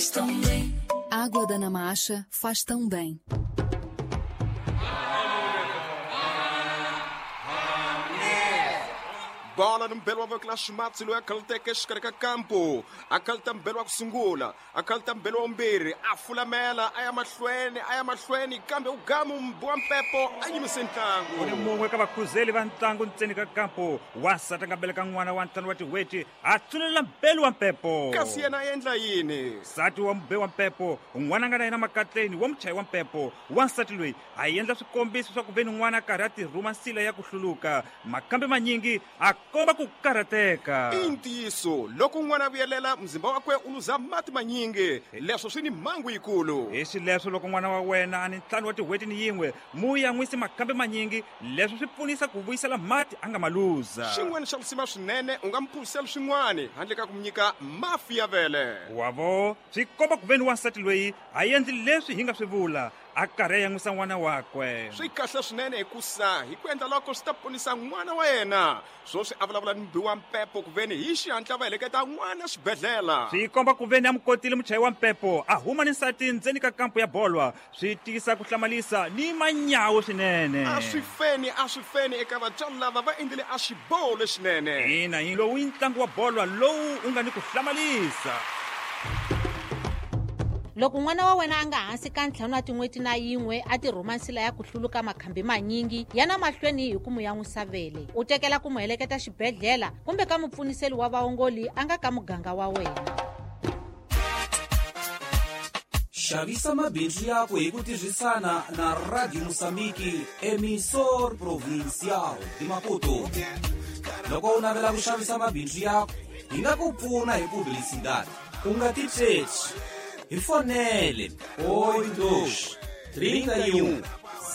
Faz tão bem. Água da Namacha faz tão bem. Bola ni mbelo wa voko la ximatsi loyi a khaluteke exikarhi ka kampo a khaluta mbelo wa ku sungula a khaluta mbelo wa vumbirhi a fulamela a ya mahlweni a ya mahlweni kambe u gamu mbi wa mpepo a yimise ntlangu. U ni mun'we ka vakhuzeli va ntlangu ntseni ka kampo wansati a nga beleka n'wana wa ntlhanu wa tin'hweti a tsunelela mbelu wa mpepo. Kasi yena a endla yini? Nsati wa mube wa mpepo n'wana a nga na yena makatleni wa muchayi wa mpepo wansati loyi a endla swikombiso swa ku ve ni n'wana a karhi a tirhuma nsila ya ku hluluka makambe manyingi a komba ku karhateka. I ntiyiso, loko n'wana a vuyelela, muzimba wakwe u luza mati manyingi. Leswo swi ni mhangu yikulu. Hi xileswo, loko n'wana wa wena a ni ntlhanu wa tin'hweti ni yin'we, mu yan'wisi makambe manyingi. Leswo swi pfunisa ku vuyisela mati a nga ma luza. Xin'wana xa risima swinene, u nga mu phuzisela swin'wana handle ka ku mu nyika mafi ya vele. Wa vo, swi komba ku ve ni wansati loyi a endli leswi hi nga swi vula. A karhi a yan'wisa n'wana wakwe. Swi kahle swinene hikusa hi ku endla loko swi ta ponisa n'wana wa yena. Swoswi a vulavula ni mubi wa mpepo kuveni hi xihatla va heleketa n'wana xibedhlela. Swi komba kuveni a mu kotile muchayi wa mpepo a huma ni nsati ndzeni ka kampu ya bolwa. Swi tiyisa ku hlamalisa ni manyawu swinene. A swi feni, a swi feni eka vatswari lava va endlile a xiboho lexinene. Ina, hi lowu i ntlangu wa bolwa lowu u nga ni ku hlamalisa. Loko n'wana wa wena a nga hansi ka ntlhanu wa tin'hweti na yin'we a tirhuma nsila ya ku hluluka makhambi manyingi ya na mahlweni hi ku mu yan'wisa vele, u tekela ku mu heleketa xibedhlela kumbe ka mupfuniseli wa vaongoli a nga ka muganga wa wena. Xavisa mabindzu yaku hi ku tirhisana na Radio Moçambique, Emissor Provincial de Maputo. Loko u navela ku xavisa mabindzu yaku, hi nga ku pfuna hi publicidade. U nga titshetswi. Hi fonele 82 31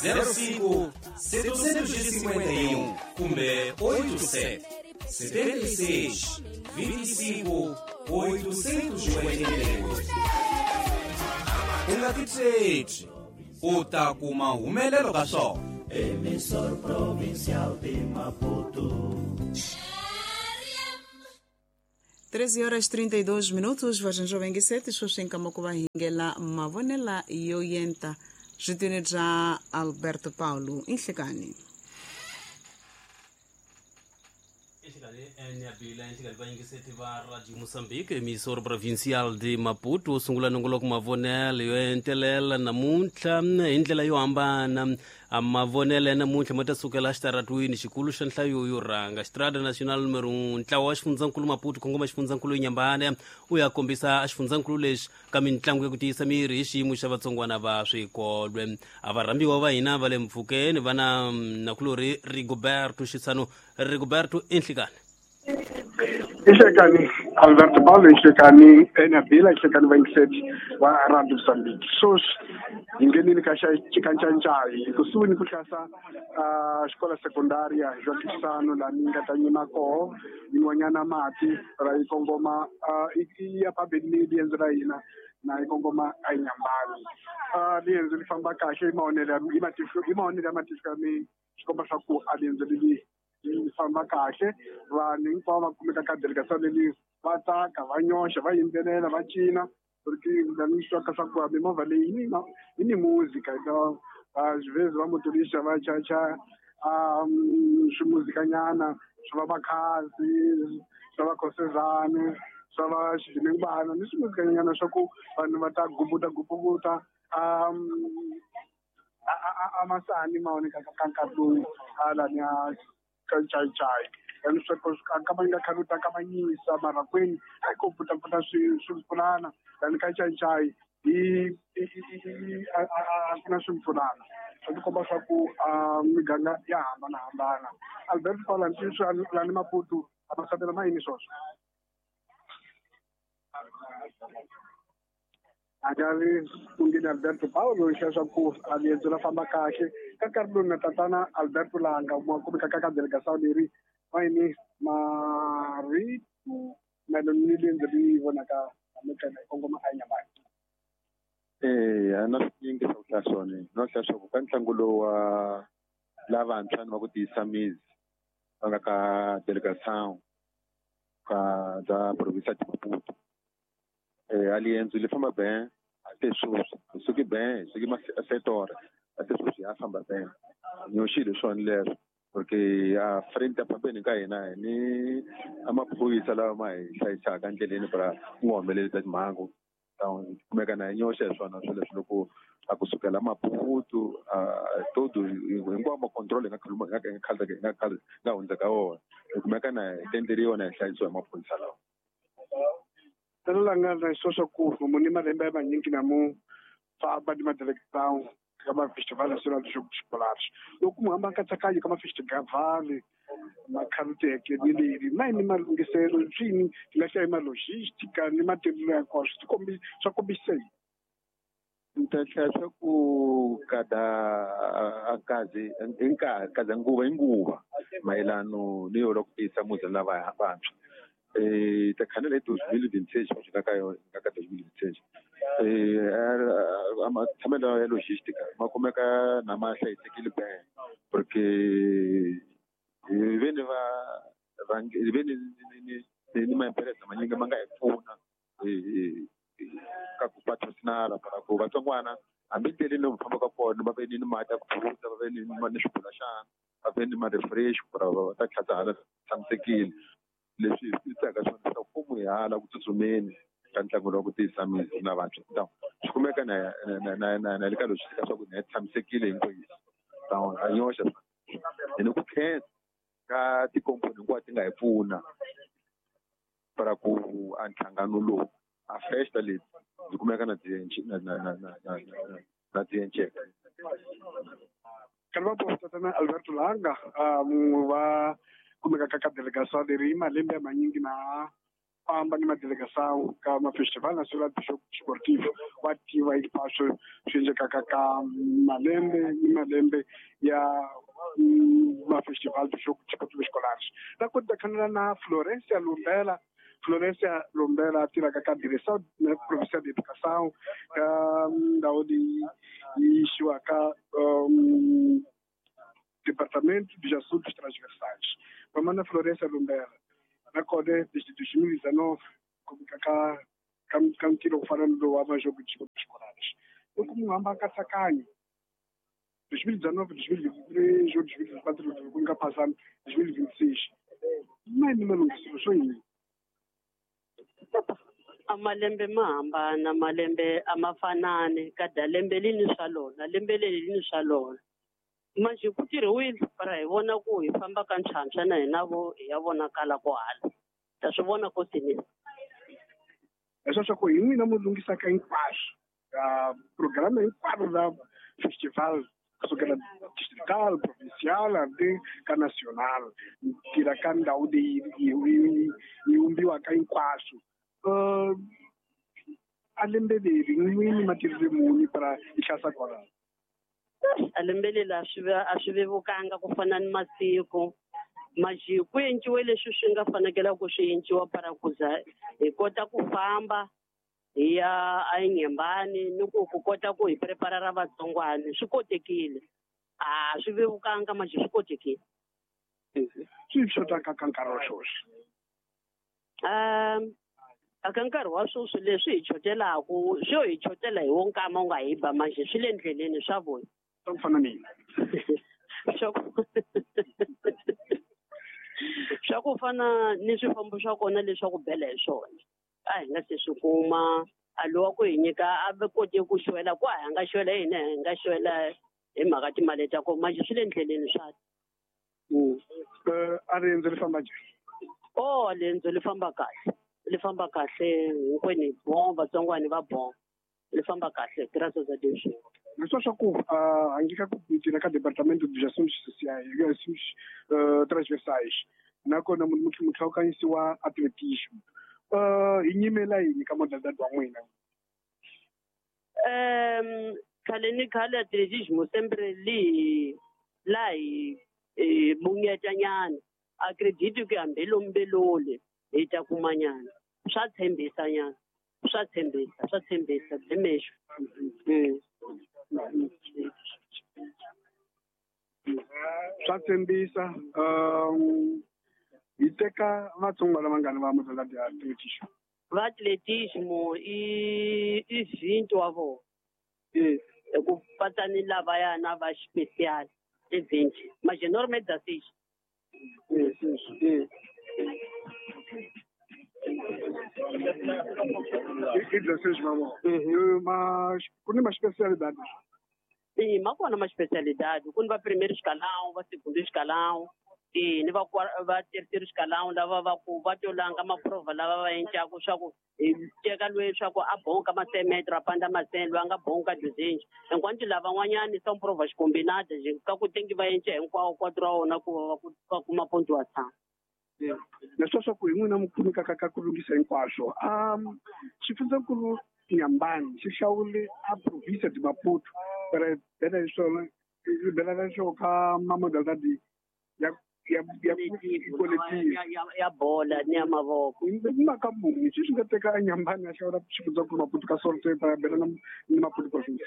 05 751 kumbe 87 76 25 888. U nga titshetswi, u ta kuma humelelo ka swona. Emissor Provincial de Maputo. 13 horas 32 minutos vaxanxo vengiseti sweswi nkama ku va hingela mavonela yo yenta switini bya Alberto Paulo i nhlekani. Exikarhi Nyabila exikarhi vayingiseti va Radio Mozambique emissor provincial de Maputo wu sungula nongoloko mavonelo yo entelela namuntlha hi ndlela yo hambana. A Mavonelo ya namuntlha ma ta sukela exitaratwini xikulu xa nhlayo yo rhanga, Estrada Nacional Número 1. Ntlawa wa xifundzankulu Maputo kongoma xifundzankulu Inhambane u ya kombisa xifundzankulu lexi ka mintlangu ya ku tiyisa miri hi xiyimo xa vatsongwana va swikolwe. A varhambiwa va hina va le mpfhukeni va na nakulorhi Rigoberto Xitsano. Rigoberto, i nhlikani. Ihlekani Alberto Paulo, ihlekani Enabila, ihlekani vayingiseti va Radio Mozambique. Sweswi hi nghenile ka xa Chikancancayi kusuhi ni ku hlasa xikolo secondaria João Chissano laha ni nga ta yima koho yi nwanyana mati ra yi kongoma yi ya phambeni ni riendzo ra hina na yi kongoma eNyambani. Riendzo ri famba kahle hi mavonelo ya hi matihlo hi mavonelo ya matihlo ya mina swi komba swa ku a riendzo leri yi famba kahle vanhu hinkwavo va kumeka ka delegação leli va tsaka va nyoxa va yimbelela va cina porque ni swi twaka swa ku mimovha leyi yi ni yi ni muzika às vezes va motorista va chaya swimuzikanyana swi va makhadzi swa va khosezane swa va xidimingwana ni swimuzikanyana swa ku vanhu va ta gubuta gubuta a masani ma vonekaka ka nkarhi lowu hala ni a ka ncayincayi and sweswo a nga khale u ta kavanyisa mara kwini a ko pfutapfuta swimpfulana than ka ncayincayi hi a ku na swimpfulana swi tikomba swa ku miganga ya hambanahambana. Alberto Paula ntiyiso lani Maputo a masatela ma yini swoswo a nga ri kungeni Alberto Paulo xa swa ku a riendzo ra famba kahle ka nkarhi lowu na tatana Alberto Langa ma kumeka ka ka delegação leri mayini marito mayelana ni riendzo ri vonaka hamekana hi kongoma a Nyamani. Eya na swinyingi swa ku hlaya swona no hlaya swa ku ka ntlangu lowu wa lavantshwa ni va ku tiyisa mizi va nga ka delegação ka bya province ya Maputo. Alienzo li famba bem até sweswi hi suke bem hi suke masetora até sweswi ya famba bem nyoxile swona leswo porque a frente pambeni ka hina ni amaphorisa lawa ma hi hlayisaka endleleni para ku nga humeleli ta timhangu kumeka na hi nyoxa hi swona swilo leswi loko a kusukela Maputo todo hinkwawo macontrol hi nga hundza ka wona hi kumeka na hi tenderiwa na hi hlayisiwa hi maphorisa lawa. Tala nga na sweswo ku muni malembe ya manyingi na mu famba ni madelegação ka mafestival nacional de jogos escolares loko mu hamba nkatsakanyo ka mafestival makhaluteke ni leri na ni malunghiselo swini ti nga hlaya malogística ni matirhelo ya kona swi swa kombisa yini? Ni ta hlaya swa ku kada akazi hi nkarhi kada nguva hi nguva mayelano ni yo ku tiyisa muzi lava vantshwa takhanela hi 2026 va fika ka yona ka 2026 amatshamelo ya logistica ma kumeka na ma hlayisekile bem porque hi veni va hi veni ni maempresa manyingi ma nga hi pfuna ka ku patrocinala para ku vatsongwana hambi ndleleni lomu fambaka kona va ve ni mati ya ku phuza va ve ni ni swibulaxana va ve ni ma-refresh para va ta tlhata tshamisekile. Leswi hi swi tsaka swona leswaku mfumo hi hala ku tsutsumeni ka ntlangu lowa ku tiyisa misi na vantshwa então swi kumeka na na na na le ka logistica swa ku na hi tshamisekile hinkwenu então a nyoxa hi ni ku khensa ka tikomponi hinkwato ti nga hi pfuna para ku a nhlangano lowu a festa leti ndzi kumeka na na ti enceka. Kalva tatana Alberto Langa mun'we va kumeka ka delegação leri malembe ya manyingi na famba ni madelegação ka mafestival nacional de jogo esportivo wa tiva hinkwaswo swi endlekaka ka malembe ni malembe ya mafestival de jogo desportivo escolares. Na ku dakhanela na Florencia Lumbela. Florencia Lumbela tirhaka ka direção provincial de educação ka ndhawu leyi yi yixiwaka Departamento dos Assuntos Transversais. Mamana Florencia Lumbela, na kona desde 2019, ka ka ntirho ku fana ni lowu wa majogo escolares. Loko munhu hamba nkatsakanyo 2019, 2023, 2024, ku nga phasana 2026, mani malunghiselo swo yini? A malembe ma hambana, malembe a ma fanani, kada lembe li ni swa lona, lembe leri li ni swa lona. Manje ku tirhiwile para hi vona ku hi famba ka ntlhantlha na hina vo hi ya vonakala ko hala ta swi vona ko tinini. Leswaku hi n'wina mu lunghisaka hinkwaswo programa hinkwaro ra festival kusukela distrital, provincial hambi ka national tirha ka ndhawu leyi yi vumbiwaka hinkwaswo. A lembe leri n'wini matirhele muni para hi hlasa kwalaho? A lembe leri a swi vevukanga ku fana ni masiku maji ku enciwe leswi swi nga fanekela ku swi enciwa para ku za hi kota ku famba hi ya eNyembani ni ku kota ku hi prepara ra vatsongwana swi kotekile. A swi vevukanga maji swi kotekile. Swi xotaka ka nkarhi wa sweswi? Aka nkarhi wa sweswi leswi hi chotelaku swo hi chotela hi wo nkama u nga hi ba manje swi le ndleleni swa vona. Swa ku fana ni swa ku fana ni swifambo swa kona leswaku bela hi swona a hi nga se swi kuma a lowa ku hi nyika a va kote ku xwela ku a hi nga xwela hina hi nga xwela hi mhaka timali ta kona manje swi le ndleleni swa. A riendzo ri famba njhani? Oh, riendzo ri famba kahle. Li famba kahle hinkwenu hi bon vatsongwani va bon li famba kahle graças a Deus. Leswi swa ku handle ka ku tirha ka departamento dos assuntos sociais assuntos transversais nakona munhu mutlhawukanyisi wa atletismo hi nyimela yini ka modalidad wa n'wina? Khale ni khale atletismo sempre li la hi bunyetanyana a credit ku hambi lombelole hi ta kumanyana swa tshembisa nyana swa tshembisa bimexo. Swa tshembisa. Hi teka vatsongo lava nga ni va modalidad ya atletismo. Va atletismo i 20 wa vona. Hi ku patsa ni lavaya na va special i 20. Mas norme da 6. I 16 va vona. Mas ku ni ma especialidade. Sim, ma kona ma especialidade. Ku ni va primeiro escalão, va segundo escalão. E ni va terceiro escalão lava va ku va tolanga maprova lava va endlaku swa ku hi teka loyi swa ku a bonka ma 100 metro a panda ma 100 loyi a nga bonka 200 enquanto lavan'wanyani são provas combinadas ka ku tengi va endla hinkwawo quatro wa wona ku va kuma pontuação. Leswi swa ku hi n'wina mi pfunekaka ka ku lunghisa hinkwaswo. Xifundzankulu Inhambane xi hlawule a província de Maputo para bela leswo bela leswo ka ma modalidade ya ya bola ni ya mavoko. Mhaka muni xi swi nga teka Inhambane a hlawula xifundzankulu Maputo ka sorte para bela ni Maputo province.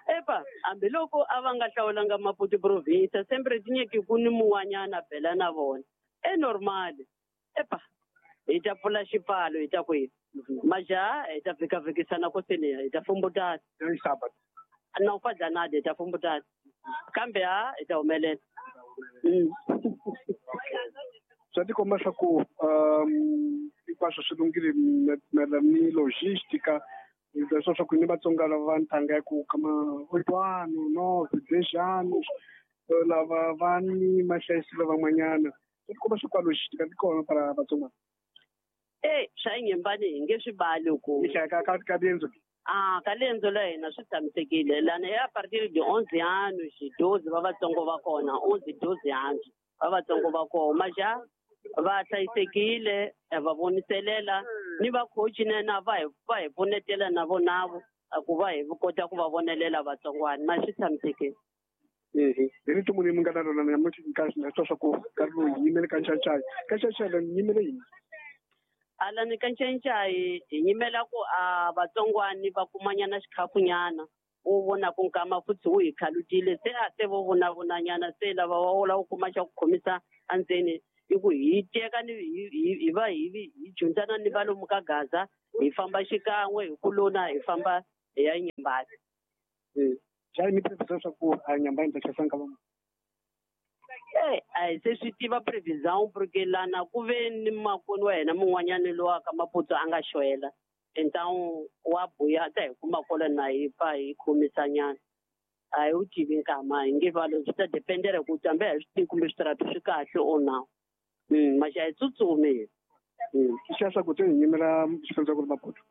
Epa, hambiloko a va nga hlawulanga Maputo province sempre tinyeki ku ni mun'wanyana bela na vona. É normal. Epa, hi ta pfula xipfalo hi ta kwihi majaha hi ta vhikavhikisana koseni hi ta fumbutana. Na u fadlanadi hi ta fumbutana kambe ha hi ta humelela. Swa tikomba swa ku hinkwaswo swi lunghile mayelana ni logistica leswa swa ku ni Vatsonga lava va ntanga ya ku kama 8 ano, 9, 10 anos lava va ni mahlayiselo van'wanyana. Swi tikomba swa ku a logistica ti kona para Vatsonga. Swa Inhambane hi nge swi vali ku ka riendzo. Ka riendzo la hina swi tshamisekile lana ya partir de 11 anos 12 va vatsongo va kona 11 12 anos va vatsongo va kona maja va hlayisekile va voniselela ni va coach na va hi pfunetela na vonavo ku va hi kota ku va vonelela vatsongwana ma swi tshamisekile. Hi rito muni mi nga na rona namuntlha nkarhi na swa ku nkarhi lowu hi yimele ka Ncancai. Ka Ncancai la ni yimele yini? Alani ka Ncancai hi yimela ku a vatsongwani va kumanyana xikhafunyana wu vona ku nkama futhi wu hi khalutile se a se vo vonavonanyana se lava va wo lava ku kuma xa ku khomisa endzeni i ku hi teka ni hi va hi dyondzana ni va lomu ka Gaza hi famba xikan'we hi ku lona hi famba hi ya Inhambane. Xa mi previsão swa ku a Inhambane ta tlhesa nkama muni? A hi se swi tiva previsão porque lana ku ve ni makoni wa hina mun'wanyani lowa ka Maputo a nga xwela então wa buya ta hi kuma kona na hi pfa hi khomisanyana a hi wu tivi nkama hi nge valo swi ta dependera ku hambi a hi swi tivi kumbe switarata swi kahle or na maxa hi tsutsumi. Xa swa ku te hi yimela xifundzankulu Maputo.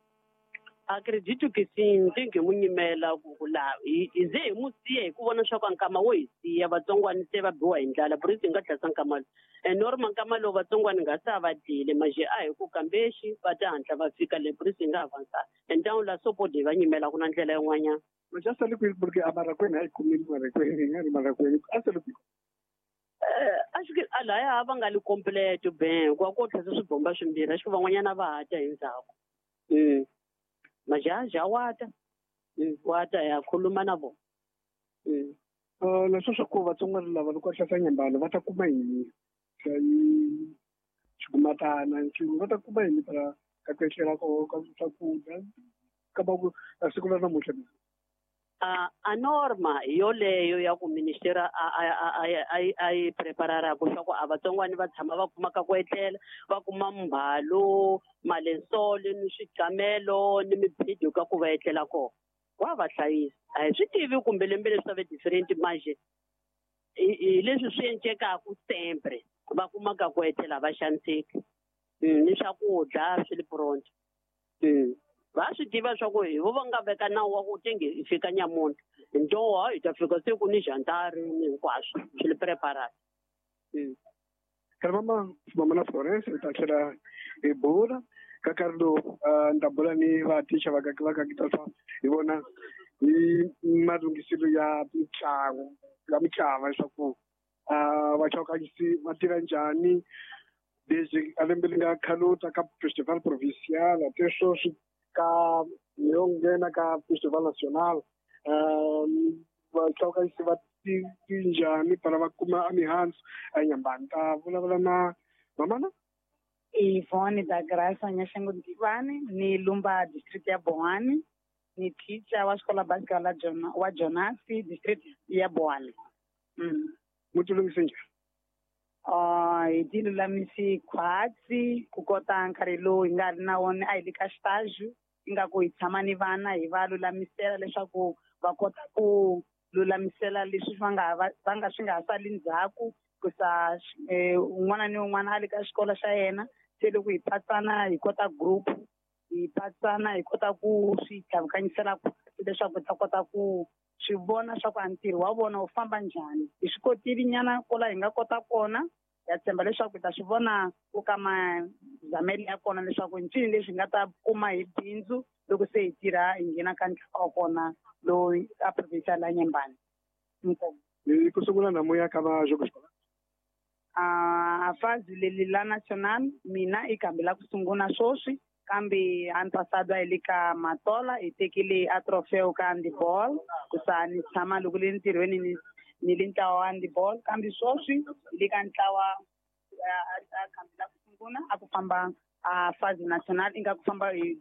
Acredito que sim, tem que mu nyimela ku la hi ze hi mu siya hi ku vona swa ku nkama wo hi siya vatsongwani se va biwa hi ndlala por isso hi nga tlhasa nkama lowu. E normal nkama lowu vatsongwani nga sa va dyile maje a hi ku kambexi va ta hatla va fika le por isso hi nga avansa então la so pode va nyimela ku na ndlela yin'wanyana. Maja sale kwihi porque a Marraqueta a yi kumile Marraqueta hi nga ri Marraqueta a sale kwihi? Acho que alaya a va nga li completo bem ku ko tlhasa swibomba swimbirhi acho que van'wanyana va ha ta hi ndzhaku. Majaha wata wata ya khuluma na vona. Leswi swa ku vatsonga lava loko va hlasa Inhambane va ta kuma yini? Xigumatana va ta kuma yini para ka ku ehlela ka swakudya ka va ku siku ra namuntlha? A norma yoleyo ya ku ministera a yi prepararaka swa ku a vatsongwani va tshama va kumaka ku etlela va kuma mbhalo malensolo ni swiqamelo ni mibedo ka ku va etlela kona wa va hlayisa. A hi swi tivi kumbe lembe leswi swa ve different manje hi leswi swi encekaku sempre va kumaka ku etlela va xaniseki ni swakudya swi le pronto. Va swi tiva swa ku hi vo va nga veka nawu wa ku tenge hi fika nyamuntlha ntowa hi ta fika se ku ni jantari ni hinkwaswo swi le preparate. Khale mama na Florence hi ta tlhela hi bula ka nkarhi lowu ni ta bula ni vathicha va ka swa hi vona hi malunghiselo ya mitlangu ya mitlawa leswaku vachokanyisi va tirha njhani leswi a lembe li nga khaluta ka festival provincial te sweswi ka yo nghena ka festival national vachokanyisi va tinjhani para va kuma a mihandzu a Inhambane. Ta vulavula na mamana. Ivone da Graça Nyashango Ndivani ni Lumba district ya Boane, ni teacher wa xikola básica la wa Jonasi district ya Boane. Mu ti lunghise njhani? Hi ti lulamise khwatsi ku kota nkarhi lowu hi nga ri na wona a hi le ka xitaji ingaku hi tshama ni vana hi va lulamisela leswaku va kota ku lulamisela leswi va nga swi nga ha sali ndzhaku ku sa un'wana ni un'wana a le ka xikolo xa yena. Se loko hi patsana hi kota group hi patsana hi kota ku swi tlhavukanyisela leswaku hi ta kota ku swi vona swa ku a ntirho wa vona wu famba njhani. Hi swi kotile nyana kwala hi nga kota kona, ya tshemba leswaku hi ta swi vona ku ka mazamelo ya kona leswaku ncini leswi hi nga ta kuma hi bindzu loko se hi tirha hi nghena ka ntlawa wa kona lowu a provincial ya Nyembani. Hi ku sungula namuya ka va Jogo Xikola. A fazi leli la national mina i kambe la ku sungula sweswi, kambe ano passado a hi le ka Matola hi tekile a trofeo ka handball ku sa ni tshama loko le ntirhweni ni le ntlawa wa handball, kambe sweswi hi le ka ntlawa a kambe la ku sungula a ku famba a fazi national inga ku famba hi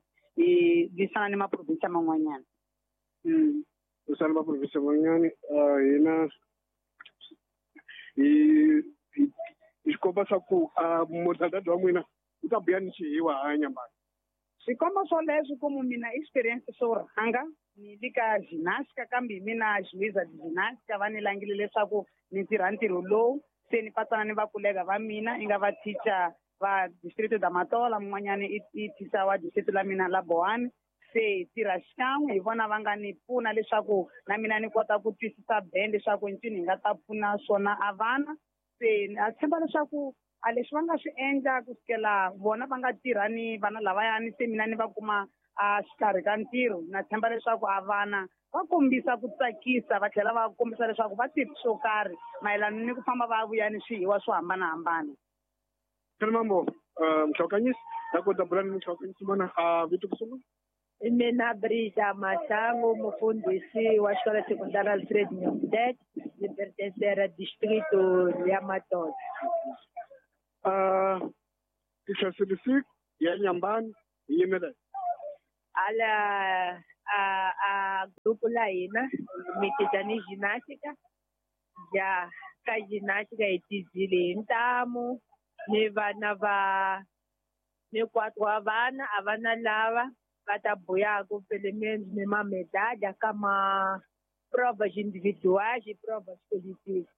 lwisana ni maprovinsia man'wanyana. Lwisana maprovinsia man'wanyana hina hi xikomba swa ku modalidade wa n'wina wu ta buya ni xihiwa ha Nyambani. Swikomba swoleswo ku mina experience swo rhanga ni le ka gymnastica, kambe mina juiza gymnastica va ni langile leswaku ni tirha ntirho lowu se ni patsana ni vakulega va mina i nga va teacher va district da Matola, mun'wanyani i teacher wa district la mina la Boane. Se hi tirha xikan'we hi vona va nga ni pfuna leswaku na mina ni kota ku twisisa band leswaku ncini hi nga ta pfuna swona a vana. Se a tshemba leswaku a leswi va nga swi endla ku sukela vona va nga tirha ni vana lavayani se mina ni va kuma a xikarhi ka ntirho, na tshemba leswaku a vana va kombisa ku tsakisa va tlhela va kombisa leswaku va tirhi swo karhi mayelana ni ku famba va vuya ni swihiwa swo hambanahambana. Mambo Mhlokanyisi na kota bula ni Mhlokanyisi mana a vito ku sungula. Mina Brisa Masango, mufundhisi wa xikolo sekundari Alfred Nyongdet, ni pertencera distrito ya Matola. Tixasilisi ya Nyambani hi yimela ala a grupo la hina mi ginástica ya ka ginástica hi tizile hi ntamu ni vana va ni 4 wa vana a vana lava va ta buyaku pelo menos ni uma medalha kama provas individuais e provas coletivas.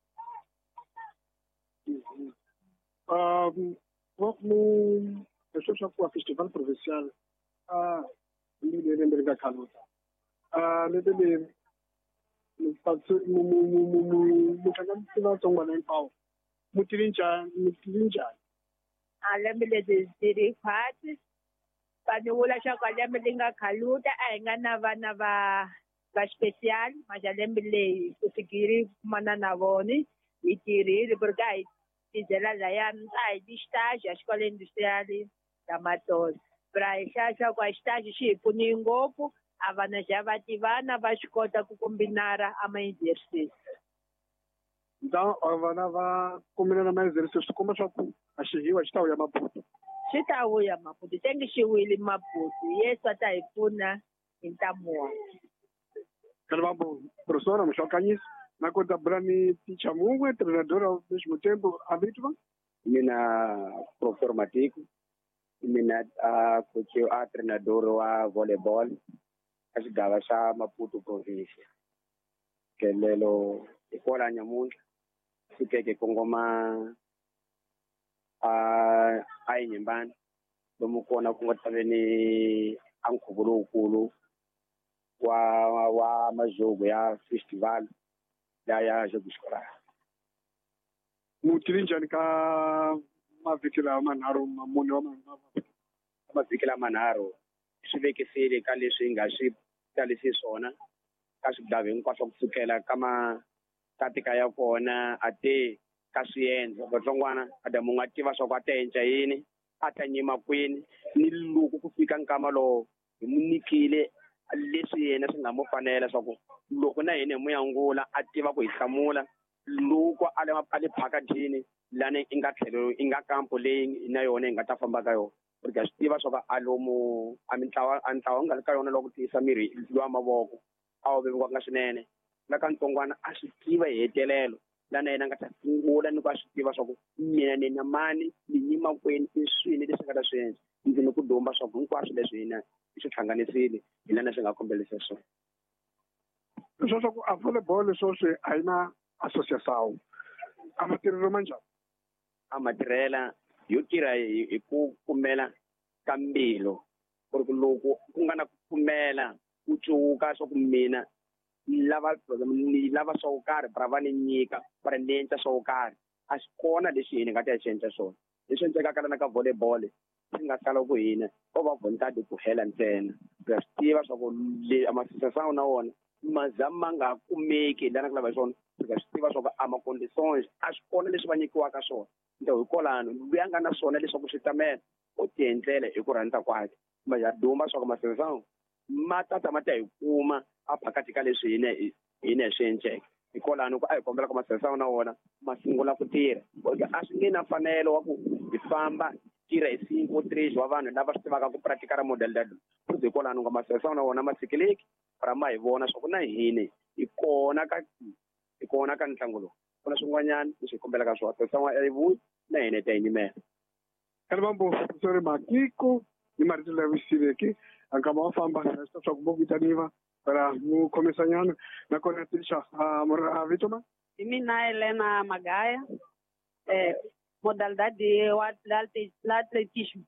Leswi swa ku festival provincial ni lembe ri nga khaluta lembe leri muhlanganisi vatsongwana hinkwawo mu tive njhani? A lembe leri tirhi khwatsi vanhu vula swa ku lembe leri nga khaluta a hi nga na vana va special maxa lembe leyi ku fikiri kumana na vona hi tirhile porque a hi tizela layani a hi ti xitaji a xikolo industrial da Matola pra hi hlaya swa ku a xitaji xi hi pfunile ngopfu a vana xa va tivana va swi kota ku kombinara a ma-exercise. Então vana va kombinana ma-exercise swi komba swa ku a xihiwa xi ta vuya Maputo. Xi ta vuya Maputo se ngi xi wile Maputo Yesu a ta hi pfuna hi ntamu wakwe. Mambo professora Mhlokanyisi na kota bula ni teacher mun'we treinador ao mesmo tempo a vito va? Mina professor Matiko, mina a coach a treinador wa volleyball ka xigava xa Maputo province. Kelelo hi kwala nyamuntlha fikeke kongoma a Inyimbani lomu kona ku nga ta ve ni a nkhuvo lowukulu wa majogo ya festival ya Jogo Escolar. Mu tive njhani ka mavhiki lawa manharhu mune wa mavhiki lama manharhu swi vekisile ka leswi hi nga swi talisi swona ka swigava hinkwaswo kusukela ka makatika ya kona a te ka swiendlo vatsongwana a munhu a tiva swa ku a ta endla yini a ta nyima kwini ni loko ku fika nkama lowo hi mu nyikile leswi yena swi nga mu fanela swa ku loko na hina hi mu yangula a tiva ku hi hlamula loko a le phakadini lani i nga tlhelo i nga kampo leyi na yona hi nga ta famba ka yona ku ri ka swi tiva swa ku a lomu a mintlawa a ntlawa wu nga ri ka yona loko tiyisa miri lwa mavoko a wu vevuka swinene la ka ntsongwana a swi tiva hi hetelelo lana yena a nga ta sungula ni ku a swi tiva swa ku mina ni na mani ni yima kwini i swini leswi nga ta swi endla ndzi ni ku dumba swa ku hinkwaswo leswi hina hi swi hlanganisile hi lana swi nga kombelisa swona leswaku a volleyball sweswi a yi na association a matirhelo ma njhani a matirhela yo tirha hi ku pfumela ka mbilu ku ri ku loko ku nga na ku pfumela ku cuka swa ku mina lava ni lava swo karhi bara va ni nyika va ri ni endla swo karhi a swi kona lexi hina hi nga ta xi endla swona leswi endlekaka lana ka volleyball swi nga sala ku hina ko va vontadi ku hela ntsena ya swi tiva swa ku le amasosasana na wona maza ma nga kumeki lana ku lava hi swona ya swi tiva swa ku a ma-conditions a swi kona leswi va nyikiwaka swona nto hikwalano loyi a nga na swona leswaku swi tamela u ti endlela hi ku rhandza kwakhe ma ya duma swa ku masosasana ma tata ma ta hi kuma a phakathi ka leswi hina hina hi swi endleke hikwalano ku a hi kombela ku masosasana na wona ma sungula ku tirha a swi nge na mfanelo wa ku hi famba tirha hi cinco três wa vanhu lava swi tivaka ku practicar modalidade futhi hikwalano nga masosasana na wona ma tshikeleki ra ma hi vona swa ku na hina hi kona ka ntlangu lowu ku na swin'wanyana leswi hi kombelaka swona sosasana a yi vuyi na hina hi ta yi nyimela Kalibambo professor Makiko ni marito lawa siveki ankama wa famba swa ku vitaniwa para mu khomisanyana nakona tisha mora vito ma hi mina Helena Magaya modalidade wa l'atletismo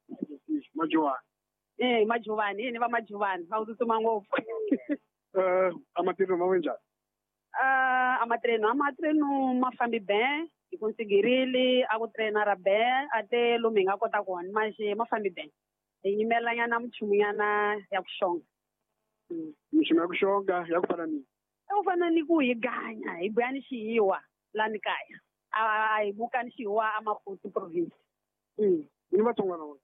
Majuvani Majuvani ni va Majuvani va tsutsuma ngopfu a matirho ma njhani a matreno ma fambi bem hi conseguirile a ku trainara bem a te lomu hi nga kota kona manjhe ma fambi bem hi yimelanyana minchumunyana ya ku xonga minchumu ya ku xonga ya ku fana ni ya ku fana ni ku hi ganya hi buya ni xihiwa lani kaya a hi buka ni xihiwa a Maputo province ni vatsongwana vona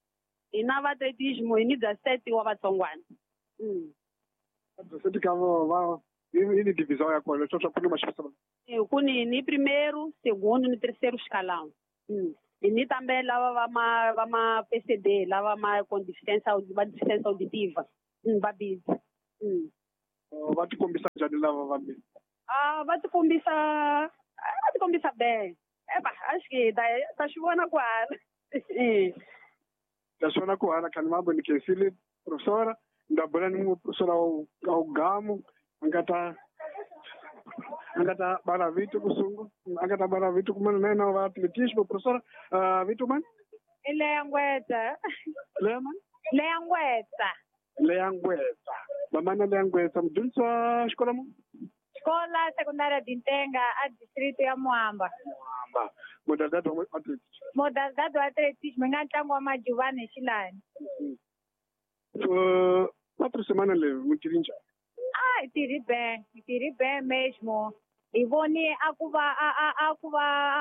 hi na vaatletismo hi ni bya seti wa vatsongwana bya seti ka va hi ni divisão ya kona leswaku ku ni maxavisa ku ni primeiro segundo ni terceiro escalão hi ni também lava va ma PCD lava ma com deficiência va deficiência auditiva va busy va tikombisa njhani lava va busy va tikombisa bem eba acho que ta swi vona kwala ta swi vona kwala khani mambo ni khensile professora ni ta bula ni professora wa Gamo a nga ta bala vito kusungu a nga ta bala vito kumana na yena wa atletismo professora vito mani i Leya Ngwetsa Leya mani Leya Ngwetsa Leya Ngwetsa mamana Leya Ngwetsa mudyondzisi wa xikolo mu Xikola Secundária de Ntenga a distrito ya Muamba Muamba modalidade wa atletismo modalidade wa atletismo yi nga ntlangu wa Majuvani hi xilani quatro semana leyi mu tirhi njhani hi tirhi bem mesmo hi voni a ku va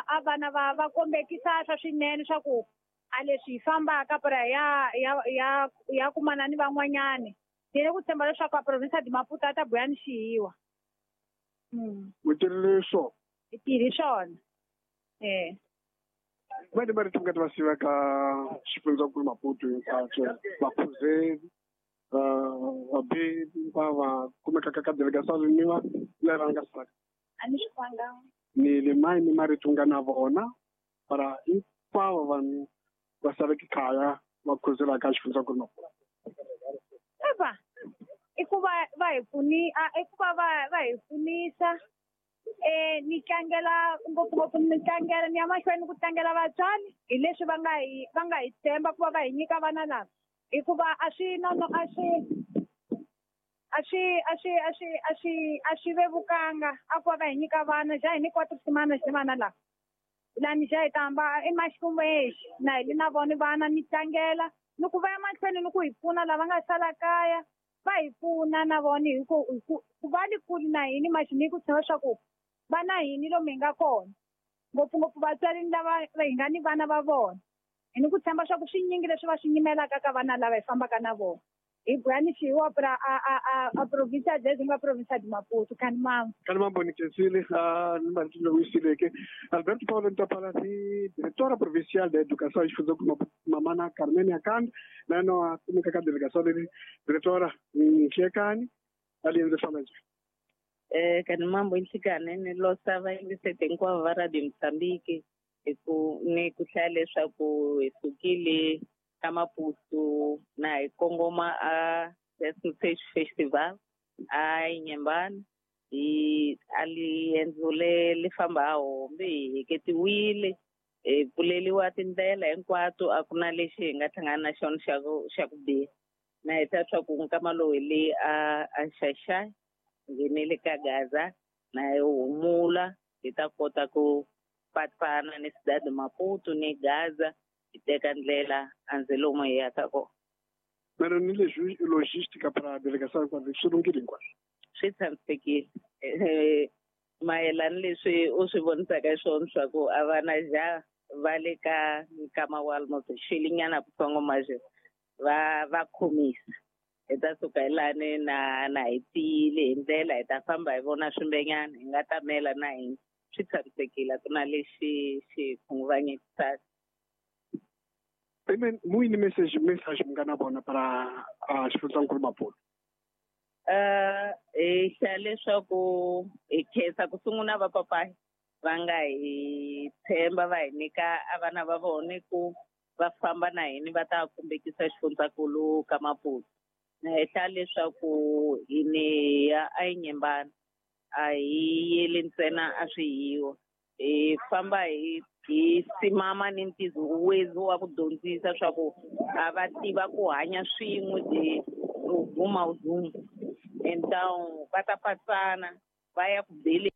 a vana va kombekisa swa swinene swa ku a leswi hi fambaka para ya kumana ni van'wanyani ni le ku tshemba leswaku a province de Maputo a ta buya ni xihiwa u tirhile swona hi tirhi swona vani marito nga ta va siva ka xifundzankulu Maputo hinkwaswo vaphuzeli vabebi va kumekaka ka delegação ni va lava nga saka a ni swi kwanga ni le mai ni marito nga na vona para hinkwavo vanhu va saleke kaya va khuzelaka xifundzankulu Maputo eva i ku va va hi pfuni i ku va va hi pfunisa ni tlangela ngopfungopfu ni tlangela ni ya mahlweni ku tlangela vatswari hi leswi va nga hi tshemba ku va va hi nyika vana lava hikuva a swi nono a swi a swi a swi a swi a swi a swi vevukanga a ku va va hi nyika vana ja hi nyikiwa tisimana xi vana lava lani ja hi ta hamba i maxikumexi na hi li na vona vana ni tlangela ni ku va ya mahlweni ni ku hi pfuna lava nga sala kaya va hi pfuna na vona hi ku va li kuli na hini maxi ni ku tshemba swa ku va na hini lomu hi nga kona ngopfungopfu vatswari lava hi nga ni vana va vona hi ni ku tshemba swa ku swinyingi leswi va swi nyimelaka ka vana lava hi fambaka na vona Hi bwani xiwa pra a província de uma província de Maputo kanimambo. Kanimambo ni khensile ni marito lowu yisileke Alberto Paulo Ntapala ni diretora provincial da educação xifundzankulu Mamana Carmen Akanda na yena a kumeka ka delegação leri diretora Nhlekani a li endze famba njhani? Kanimambo nhlikani ni losa vayingiseti hinkwavo va Radio Mozambique hi ku ni ku hlaya leswaku hi sukile ka Maputo na hi kongoma a Stage Festival a Inhambane hi a liendzo le li famba a hombe hi heketiwile hi pfuleliwa tindlela hinkwato a ku na lexi hi nga hlangana na xona xa ku biha na hi ta swa ku nkama lowu hi le a Xaxai nghenele ka Gaza na hi humula hi ta kota ku patpana ni Cidade Maputo ni Gaza hi teka ndlela anze lomu hi yaka kona. Mara ni leswi logística para delegação hinkwaswo swi lunghile hinkwaswo? Swi tshamisekile mayelana leswi u swi vonisaka swona swa ku a va na ja va le ka nkama wa almost xelinyana kutsongo maje va khomisa hi ta suka hi lani na hi tiyile hi ndlela hi ta famba hi vona swimbenyana hi nga tamela na hina swi tshamisekile a ku na lexi xi khunguvanyekisaka. Amen. Muyini message mi nga na vona para xifundzankulu Maputo? Hi hlaya leswaku hi khensa ku sungula va papayi va nga hi tshemba va hi nyika a vana va vona ku va famba na hina va ta kumbekisa xifundzankulu ka Maputo. Na hi hlaya leswaku hi ni ya a Inhambane a hi yeli ntsena a swi yiwa hi famba hi simama ni ntizo wa ku dyondzisa swa ku a va tiva ku hanya swin'we de ruguma uzungu então va ta patsana va ya ku beleni.